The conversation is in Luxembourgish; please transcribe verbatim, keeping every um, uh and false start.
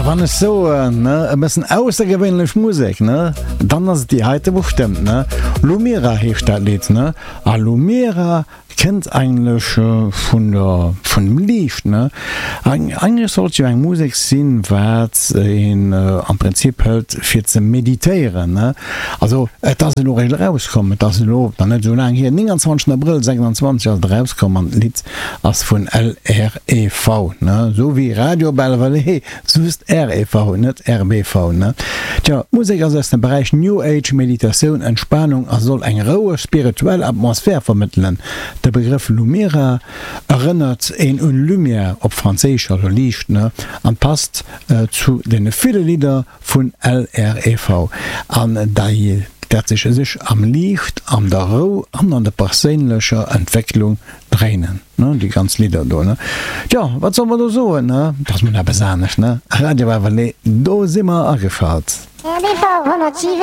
Wann ech soen, ne, e bëssen aussergewéinlech Musek, ne, dann ass et déi heite bestëmmt, ne. Lumira heescht dat Lidd, ne, a Lumira kënnt eigentlech vun der, vun dem Liicht, ne. Eigentlech sollt jo eng Musek sinn, wat een am Prinzip hëlt fir ze meditéieren, ne. Also et ass elo eréischt erauskomm, et ass elo nach net esou laang hier, nénganzwanzeg Abrëll sechsanzwanzeg ass et erauskomm an d'Lidd ass vun L R E V, ne, sou wéi Radio Bellevallée, just R E V, net R B V, ne. Tja, d'Musek ass aus dem Beräich New Age, Meditatioun, Entspanung a soll eng roueg, spirituell Atmosphär vermëttelen. De Begrëff Lumira erënnert een un Lumière op Franséisch, also Liicht, ne, an passt zu deene ville Lidder vun L R E V an dei dat sech sech am Liicht, an der Rou an an der perséinlecher Entwécklung dréinen, ne, déi ganz Lidder do, ne. Tjo, wat soll mer do soen, ne, dat ass mol eppes anescht, ne. Radio Bellevallée, do si mer ageschalt. R B V honnertsiwen.